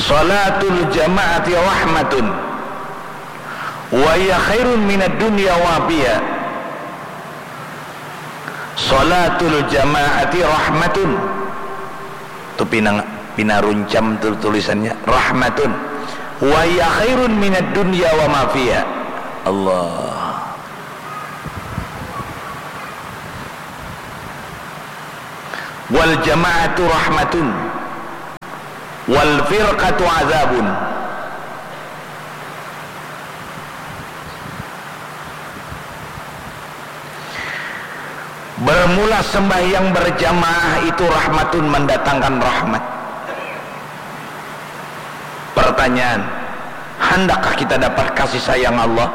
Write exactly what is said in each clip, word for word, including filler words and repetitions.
Salatul jama'ati rahmatun wa hiya khairun minad dunya wa ma fiha. Salatul jama'ati rahmatun. Tu pinang pinaruncam tu tulisannya, rahmatun. Wa hiya khairun minad dunya wa ma fiha. Allah. Wal jama'atu rahmatun wal firqatu azabun. Bermula sembahyang berjamaah itu rahmatun, mendatangkan rahmat. Pertanyaan, handakkah kita dapat kasih sayang Allah?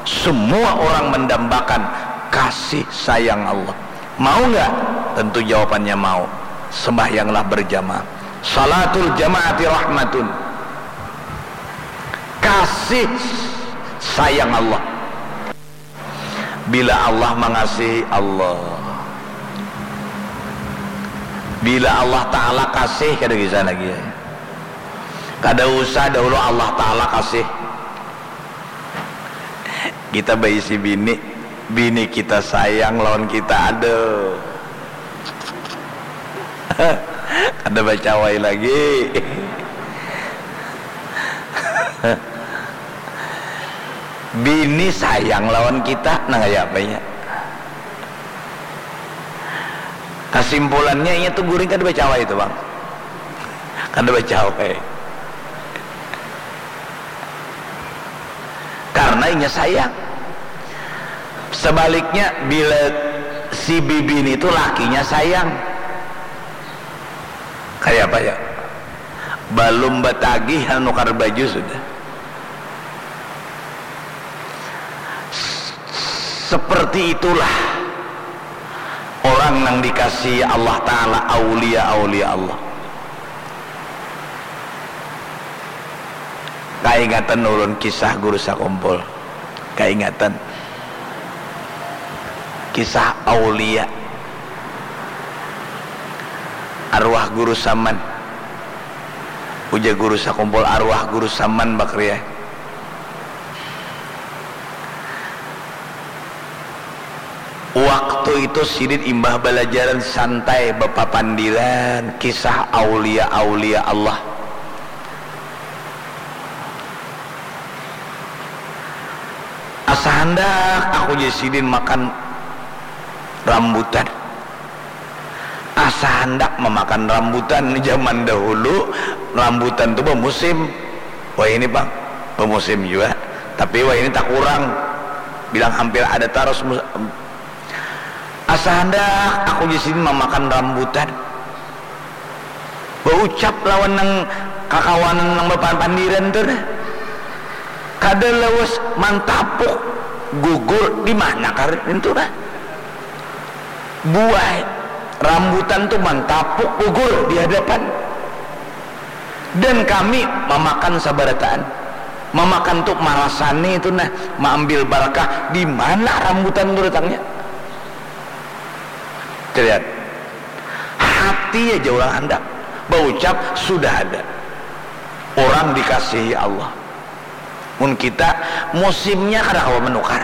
Semua orang mendambakan kasih sayang Allah. Mau nggak? Tentu jawabannya mau. Sembahyanglah berjamaah. Salatul jama'ati rahmatun. Kasih sayang Allah. Bila Allah mangasihi, Allah. Bila Allah Ta'ala kasih, kada kisah lagi. Kada usah dahulu Allah Ta'ala kasih. Kita baisi bini, bini kita sayang lawan kita, aduh. Kada bacawai lagi. Bini sayang lawan kita, nang kaya apa nya? Kasimpulannya, inya tu guring kada bacawai tu, Bang. Kada bacawai. Karena inya sayang. Sebaliknya, bila si bibini tu lakinya sayang, kaya apa ya? Balum batagih hanukar baju sudah. Seperti itulah orang nang dikasihi Allah Ta'ala, aulia-aulia Allah. Kaingatan ulun kisah guru sakumpul. Kaingatan kisah aulia, arwah guru Saman. Ujar guru sakumpul, arwah guru Saman bakriah. Waktu itu sidin imbah balajaran santai bapapandiran kisah aulia-aulia Allah. Asa handak aku jar sidin makan rambutan. Asa handak mamakan rambutan. Jaman dahulu rambutan tu bamusim. Wayahini pang bamusim jua, tapi wayahini takurang. Bilang hampir ada tarus mus-, asa handak aku jar sidin mamakan rambutan. Baucap lawan nang kakawanan nang bapandiran tu nah. Kada lawas mantapuk gugur di mana kah nintu nah. Buah rambutan tu mantapuk gugur di hadapan. Dan kami mamakan sabarataan. Mamakan tu marasani tu nah, maambil barakah di mana rambutan tu datangnya. Calian. Hati aja urang handak. Baucap sudah ada. Urang dikasihi Allah. Mun kita, musimnya kada kawa manukar.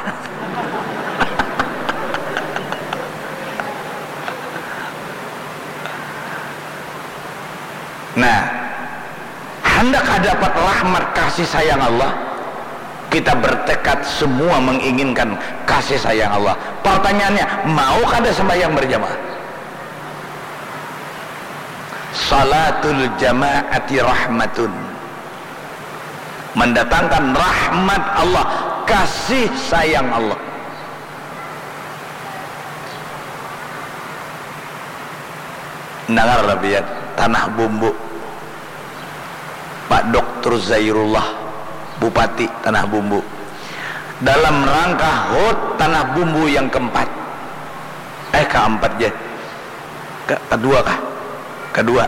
Nah, handak dapat rahmat kasih sayang Allah, kita bertekad semua menginginkan kasih sayang Allah. Pertanyaannya, mau kada sembahyang berjamaah? Salatul jama'ati rahmatun. Mendatangkan rahmat Allah, kasih sayang Allah. Dengar lah, biar Tanah Bumbu. Pak Doktor Zairullah, Bupati Tanah Bumbu. Dalam rangka hut Tanah Bumbu yang keempat. Eh, keempat je. Ke-, kedua kah? Kedua.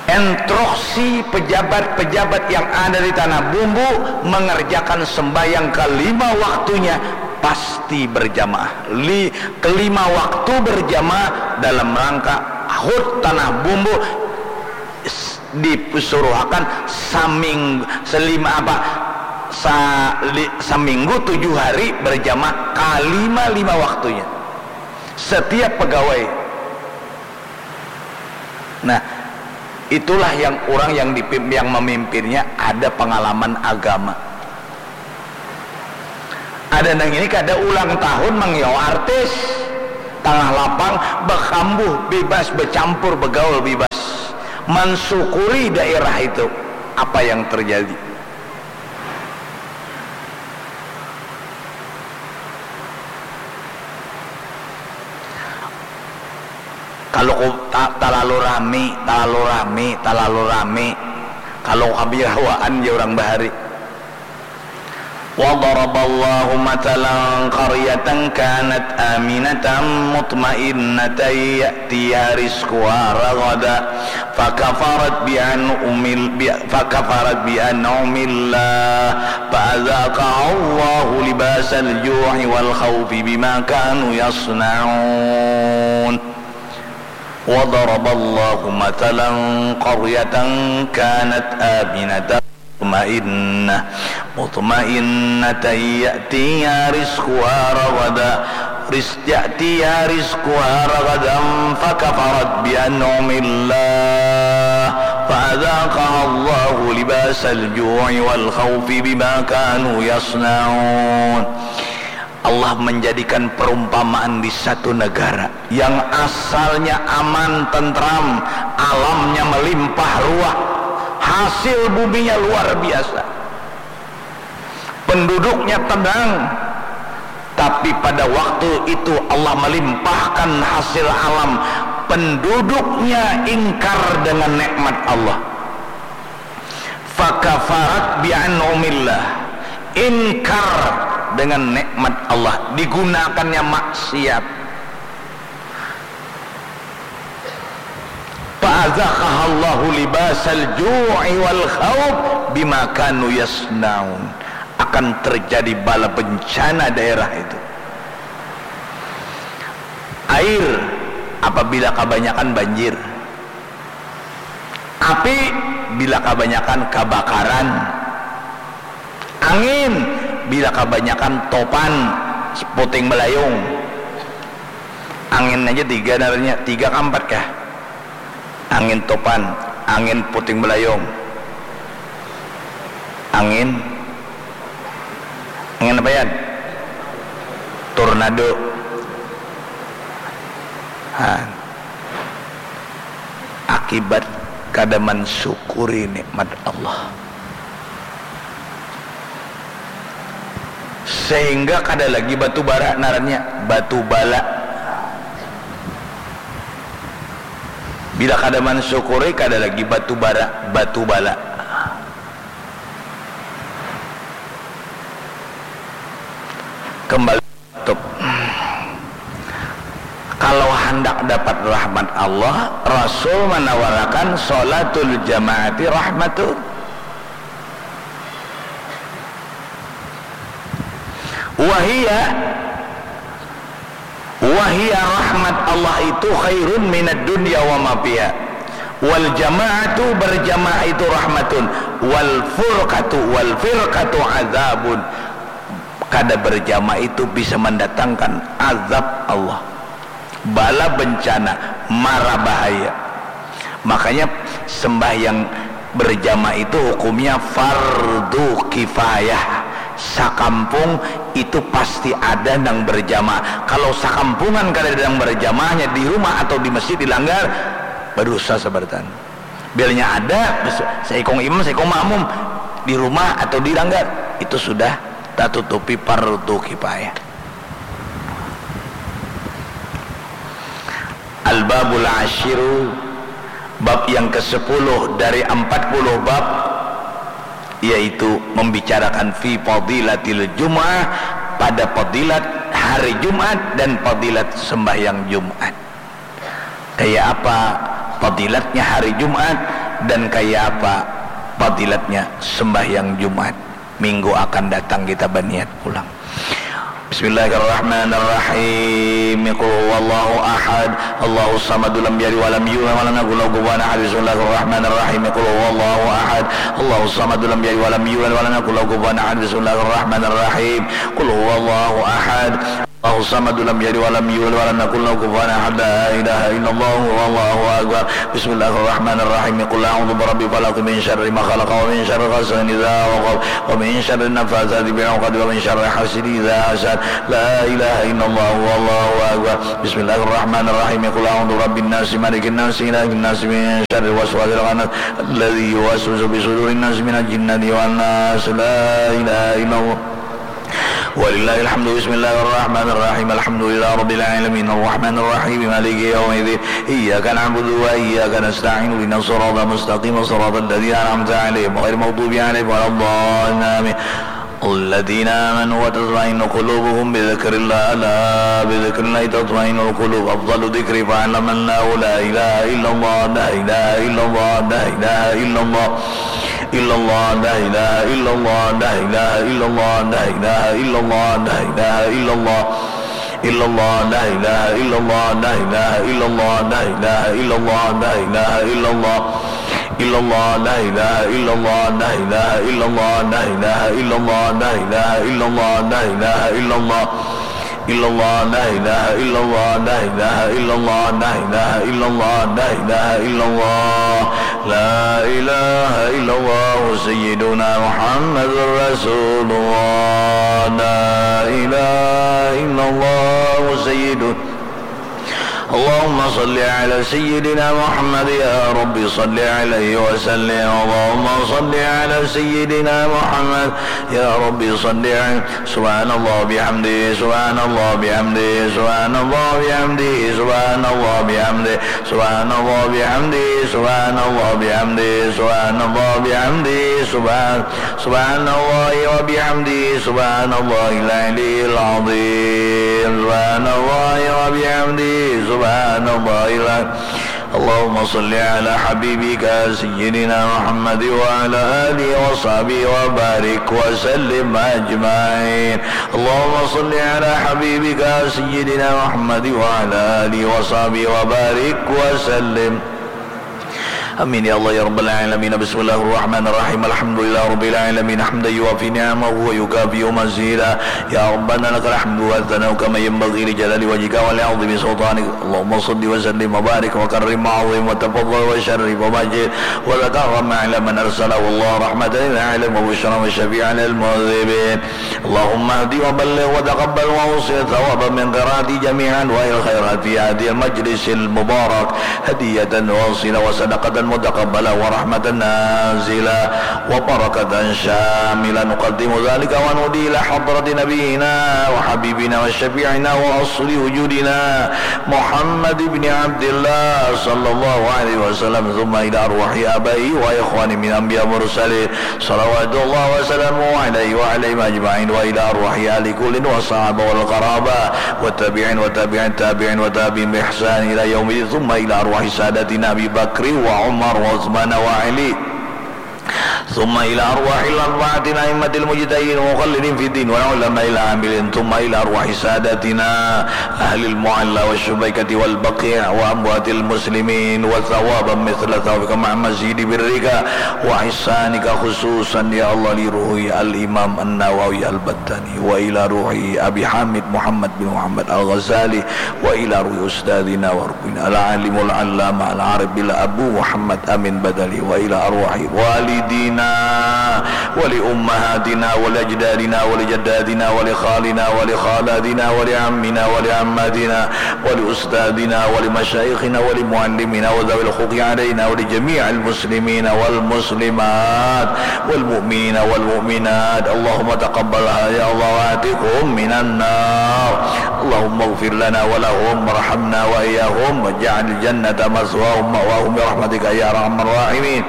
Instruksi pejabat-pejabat yang ada di Tanah Bumbu mengerjakan sembahyang kelima waktunya pasti berjamaah. Li-, kelima waktu berjamaah dalam rangka hut Tanah Bumbu. S-, Disuruhakan saming selima apa sa, li, seminggu tujuh hari berjamaah kalima lima waktunya setiap pegawai. Nah, itulah yang orang yang dipim, yang memimpinnya ada pengalaman agama. Ada nang ini kada ulang tahun mangiau artis, tangah lapang bakambuh bebas, bercampur, begaul bebas, mensyukuri daerah itu apa yang terjadi. Kalau ku ta, talalu rami, talalu rami, talalu rami, kalau kabirhawaan ya orang bahari. وضرب الله مثلا قرية كانت آمنة مطمئنة يأتيها رزقها رغدا فكفرت بأنعم فكفرت بأنعم الله فأذاقها الله لباس الجوع والخوف بما كانوا يصنعون. وضرب الله مثلا قرية كانت آمنة مطمئنة مطمئنة يأتيها رزقها رغدا رزق يأتيها رزقها رغدا فكفرت بأنعم الله فأذاقها الله لباس الجوع والخوف بما كانوا يصنعون. Allah menjadikan perumpamaan di satu negara yang asalnya aman, tentram, alamnya melimpah ruah, hasil buminya luar biasa, penduduknya tenang, tapi pada waktu itu Allah melimpahkan hasil alam, penduduknya ingkar dengan nikmat Allah. Fakafarat bi'an'umillah, ingkar dengan nikmat Allah, digunakannya maksiat. Fa'adzaqahallahu libasal ju'i wal khauf bima kanu yasna'un. Akan terjadi bala bencana daerah itu. Air apabila kabanyakan banjir. Api bila kabanyakan kabakaran. Angin bila kabanyakan topan puting beliung. Angin aja tiga ngarannya, tiga ka ampat kah? Angin topan, angin puting beliung, angin, angin apa, Yan? Tornado. Ha. Akibat kada mansyukuri nikmat Allah. Sehingga kada lagi batu bara ngarannya, batu bala. Bila kada mansyukuri, kada lagi batu bara, batu bala. Kembali. Kalau handak dapat rahmat Allah, Rasul manawarakan sholatul jamaati rahmatun. Wahiya, wahiya rahmat Allah itu khairun minad dunya wa ma fiha. Wal jamaatu, berjamaah itu rahmatun. Wal furqatu, wal firqatu azabun. Kada berjamaah itu bisa mendatangkan azab Allah, bala bencana, mara bahaya. Makanya sembahyang berjamaah itu hukumnya fardu kifayah. Sakampung itu pasti ada nang berjamaah. Kalau sakampungan kada ada nang berjamaahnya di rumah atau di masjid di langgar, berdosa sabarataan. Bilanya ada seikung imam, seikung makmum di rumah atau di langgar, itu sudah tatutupi fardu kifayah. Al-babul asyiru, bab yang kesepuluh dari empat puluh bab, yaitu membicarakan fi fadilatil jum'ah, pada fadilat hari Jumat dan fadilat sembahyang Jumat. Kaya apa fadilatnya hari Jumat dan kaya apa fadilatnya sembahyang Jumat. Minggu akan datang kita baniat pulang. Bismillahirrahmanirrahim. Qul huwallahu ahad. Allahus samad, lam yalid walam yulad walam yakul lahu kufuwan ahad. Bismillahirrahmanirrahim. Qul huwallahu ahad. Allahus samad, lam yalid walam yulad walam yakul lahu kufuwan ahad. Bismillahirrahmanirrahim. Qul huwallahu ahad. Allahus samad, lam yalid walam yulad walam yakul lahu kufuwan ahad. La ilaha illallah wallahu akbar. Bismillahirrahmanirrahim. Qul a'udzu birabbil falaq, min syarri ma khalaq, wa min syarri ghasiqin idza waqab, wa min syarri naffatsati fil 'uqad, wa min syarri hasidin idza hasad. La ilaha illallah wallahu akbar. Bismillahirrahmanirrahim. Qul a'udzu birabbin nas, malikin nas, ilahin nas, min syarril waswasil khannas, alladzi yuwaswisu fi sudurin nas, minal jinnati wan nas. La ilaha illallah. Walillahil hamdu. Bismillahirrahmanirrahim. Alhamdulillahi rabbil alamin. Arrahmanirrahim. Maliki yaumiddin. Iyyaka na'budu wa iyyaka nasta'in. Ihdinas siratal mustaqim. Siratal ladzina an'amta 'alaihim ghairil maghdubi 'alaihim waladdallin. Amin. الذين آمنوا وتطمئن قلوبهم بذكر الله ألا بذكر الله تطمئن القلوب. أفضل الذكر فاعلم أنه لا إله إلا الله. لا إله إلا الله. لا إله إلا الله. إلا الله. لا إله إلا الله. لا إله إلا الله. لا إله إلا الله. لا إله إلا الله. إلا الله. لا إله إلا الله. لا إله إلا الله. لا إله إلا الله. لا إله إلا الله. إلا الله. لا إله إلا الله. لا إله إلا الله. لا إله إلا الله. لا إله إلا الله. لا إله إلا الله. إلا الله. لا إله إلا الله. لا إله إلا الله. لا إله إلا الله. لا إله إلا الله. لا إله إلا الله. سيدنا محمد رسول الله. لا إله إلا الله. سيدنا اللهم صل على سيدنا محمد، يا رب صل عليه وسلم. اللهم صل على سيدنا محمد، يا رب صل عليه. سبحان الله وبحمده، سبحان الله وبحمده، سبحان الله وبحمده، سبحان الله وبحمده، سبحان الله وبحمده، سبحان الله وبحمده، سبحان الله وبحمده، سبحان سبحان الله وبحمده، سبحان الله العلي العظيم، سبحان الله وبحمده، سبحان الله العلي. اللهم صل على حبيبك سيدنا محمد وعلى آله وصحبه وبارك وسلم أجمعين. اللهم صل على حبيبك سيدنا محمد وعلى آله وصحبه وبارك وسلم. آمين يا الله يا رب العالمين. بسم الله الرحمن الرحيم. الحمد لله رب العالمين. حمدا يوافي نعمه ويكافئ مزيده. يا ربنا لك الحمد والثناء كما ينبغي لجلال وجهك ولعظيم سلطانك. اللهم صل وسلم وبارك وكرم وعظم وتفضل وشرف ومجد وتكرم على من أرسله الله رحمة للعالمين وبشرى وشفيعا للمذنبين. اللهم اهد وبلغ وتقبل وأوصل ثوابا من قراءته جميع أنواع الخيرات في هذا المجلس المبارك هدية واصلة وصدقة متقبلة ورحمة نازلة وبركة شاملة. نقدم ذلك ونهدي إلى حضرة نبينا وحبيبنا وشفيعنا وأصل وجودنا محمد بن عبد الله صلى الله عليه وسلم، ثم إلى أرواح آبائه وإخوانه من الأنبياء والمرسلين، صلوات الله وسلامه عليه وعليهم أجمعين، وإلى أرواح آل كل والصحابة والقرابة والتابعين وتابع التابعين وتابعين بإحسان إلى يوم الدين، ثم إلى أرواح ساداتنا أبي بكر وعمر وعثمان وعلي، ثم إلى أرواح الأربعة الأئمة المجتهدين المقلدين في الدين والعلماء العاملين، ثم إلى أرواح ساداتنا أهل المعلى والشبيكة والبقيع وأموات المسلمين، وثوابا مثل ثوابك مع مزيد برك وإحسانك، خصوصا يا الله لروح الإمام النووي البتاني، وإلى روح أبي حامد محمد بن محمد الغزالي، وإلى روح أستاذنا وربنا العالم العلامة العارف بالله أبو محمد أمين بدلي، وإلى أرواح والدينا ولأمهاتنا ولأجدادنا ولجداتنا ولخالنا ولخالاتنا ولعمنا ولعماتنا ولأستاذنا ولمشايخنا ولمعلمينا وذوي الحقوق علينا ولجميع المسلمين والمسلمات والمؤمنين والمؤمنات. اللهم تقبلها يا الله وأعتقهم من النار. اللهم اغفر لنا ولهم وارحمنا وإياهم واجعل الجنة مثواهم ومأواهم برحمتك يا أرحم الراحمين.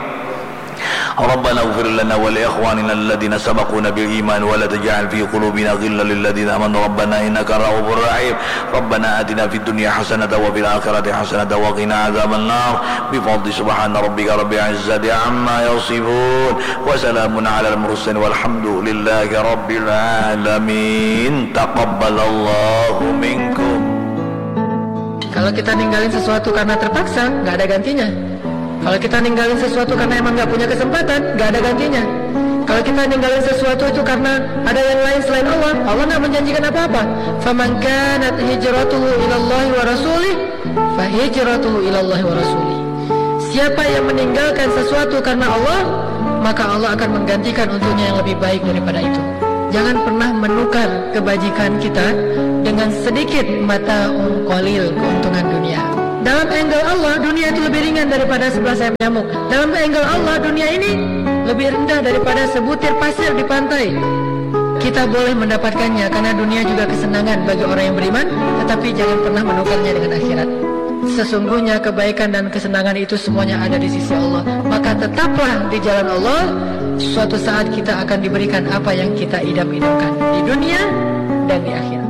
ربنا اغفر لنا ولإخواننا الذين سبقونا بالإيمان ولا تجعل في قلوبنا غلا للذين آمنوا ربنا إنك رؤوف رحيم. ربنا آتنا في الدنيا حسنة وفي الآخرة حسنة وقنا عذاب النار. بفضل سبحان ربك رب العزة عما يصفون. وسلام على المرسلين والحمد لله رب العالمين. تقبل الله منكم. Kalau kita ninggalin sesuatu karena terpaksa, nggak ada gantinya. Kalau kita ninggalin sesuatu karena emang nggak punya kesempatan, nggak ada gantinya. Kalau kita ninggalin sesuatu itu karena ada yang lain selain Allah, Allah nggak menjanjikan apa-apa. Faman kanat hijratuhu ilallahi wa rasulih, fahijratuhu ilallahi wa rasulih. Siapa yang meninggalkan sesuatu karena Allah, maka Allah akan menggantikan untuknya yang lebih baik daripada itu. Jangan pernah menukar kebajikan kita dengan sedikit mata qalil keuntungan dunia. Dalam angle Allah, dunia itu lebih ringan daripada sebelah sayap nyamuk. Dalam angle Allah, dunia ini lebih rendah daripada sebutir pasir di pantai. Kita boleh mendapatkannya karena dunia juga kesenangan bagi orang yang beriman, tetapi jangan pernah menukarnya dengan akhirat. Sesungguhnya kebaikan dan kesenangan itu semuanya ada di sisi Allah. Maka tetaplah di jalan Allah. Suatu saat kita akan diberikan apa yang kita idam-idamkan di dunia dan di akhirat.